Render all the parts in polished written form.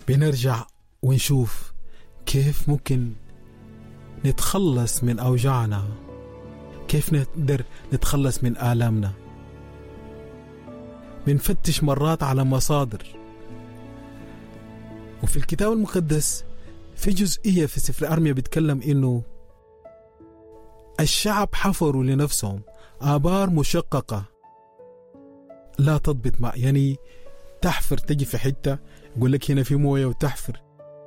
بنرجع ونشوف كيف ممكن نتخلص من أوجاعنا، كيف نقدر نتخلص من آلامنا. بنفتش مرات على مصادر، وفي الكتاب المقدس في جزئية في سفر أرميا بيتكلم إنه الشعب حفروا لنفسهم آبار مشققة لا تضبط ماء. يعني تحفر تجي في حتة يقول لك هنا في موية، وتحفر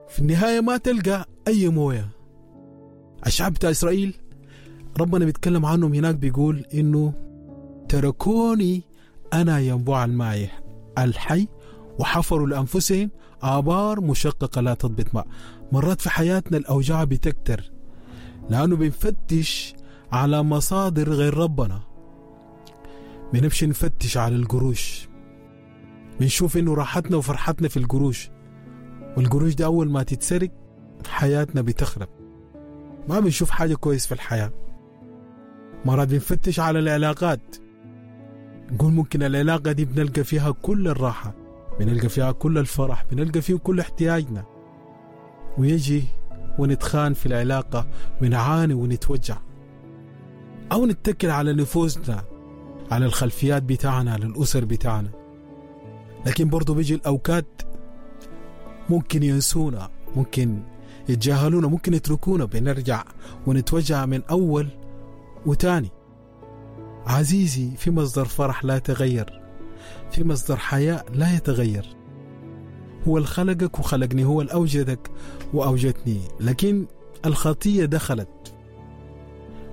في النهاية ما تلقى أي موية. الشعب بتاع إسرائيل ربنا بيتكلم عنهم هناك بيقول إنه تركوني أنا ينبوع الماء الحي وحفروا لأنفسهم آبار مشققة لا تضبط ماء. مرات في حياتنا الأوجاع بتكتر لأنه بنفتش على مصادر غير ربنا. بنمشي نفتش على القروش، بنشوف إنه راحتنا وفرحتنا في القروش، والقروش دي أول ما تتسرق حياتنا بتخرب، ما بنشوف حاجة كويس في الحياة. مرات بنفتش على العلاقات، نقول ممكن العلاقة دي بنلقى فيها كل الراحة، بنلقى فيها كل الفرح، بنلقى فيه كل احتياجنا، ويجي ونتخان في العلاقة ونعاني ونتوجع. أو نتكل على نفوسنا، على الخلفيات بتاعنا، على الأسر بتاعنا. لكن برضو بيجي الأوقات ممكن ينسونا، ممكن يتجاهلونا، ممكن يتركونا، بنرجع ونتوجع من أول وتاني. عزيزي، في مصدر فرح لا يتغير، في مصدر حياة لا يتغير. هو اللي خلقك وخلقني، هو اللي أوجدك وأوجدني. لكن الخطية دخلت،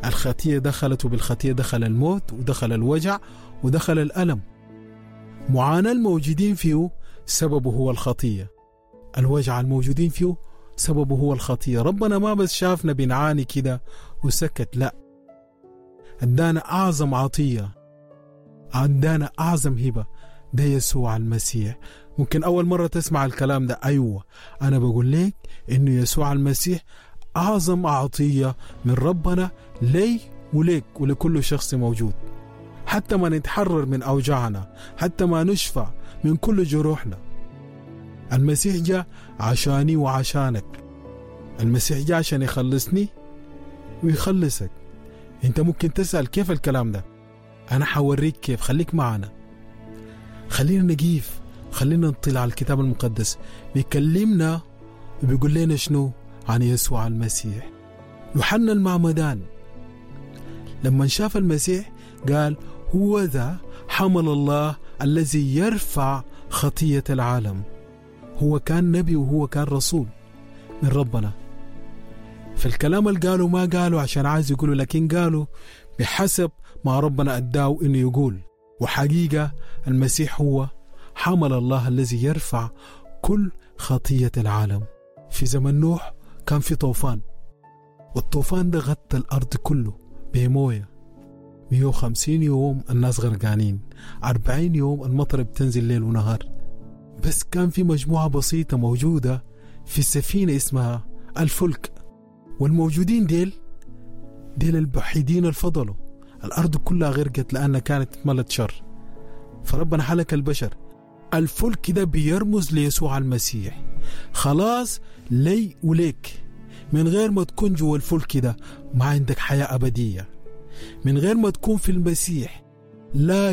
الخطية دخلت، وبالخطية دخل الموت ودخل الوجع ودخل الألم. معاناة الموجودين فيه سببه هو الخطية، الوجع الموجودين فيه سببه هو الخطية. ربنا ما بس شافنا بنعاني كده وسكت، لا، ادانا أعظم عطية، ادانا أعظم هبة، ده يسوع المسيح. ممكن أول مرة تسمع الكلام ده، أيوة أنا بقول لك إنه يسوع المسيح أعظم عطية من ربنا لي وليك ولكل شخص موجود، حتى ما نتحرر من أوجاعنا، حتى ما نشفى من كل جروحنا. المسيح جاء عشاني وعشانك، المسيح جاء عشان يخلصني ويخلصك. انت ممكن تسأل كيف الكلام ده؟ أنا حوريك كيف، خليك معنا، خلينا نقيف، خلينا نطلع على الكتاب المقدس بيكلمنا وبيقول لنا شنو عن يسوع المسيح. يوحنا المعمدان لما شاف المسيح قال هو ذا حمل الله الذي يرفع خطية العالم. هو كان نبي وهو كان رسول من ربنا، فالكلام اللي قاله ما قاله عشان عايز يقوله، لكن قاله بحسب ما ربنا أداه إنه يقول. وحقيقة المسيح هو حمل الله الذي يرفع كل خطية العالم. في زمن نوح كان في طوفان، والطوفان ده غطى الأرض كله بموية. 150 يوم الناس غرقانين، 40 يوم المطر بتنزل ليل ونهار. بس كان في مجموعة بسيطة موجودة في السفينة اسمها الفلك، والموجودين ديل الوحيدين الفضلوا. الأرض كلها غرقت لأنها كانت ملت شر، فربنا حلك البشر. الفلك ده بيرمز ليسوع المسيح. خلاص لي وليك، من غير ما تكون جوا الفلك ده ما عندك حياة أبدية، من غير ما تكون في المسيح لا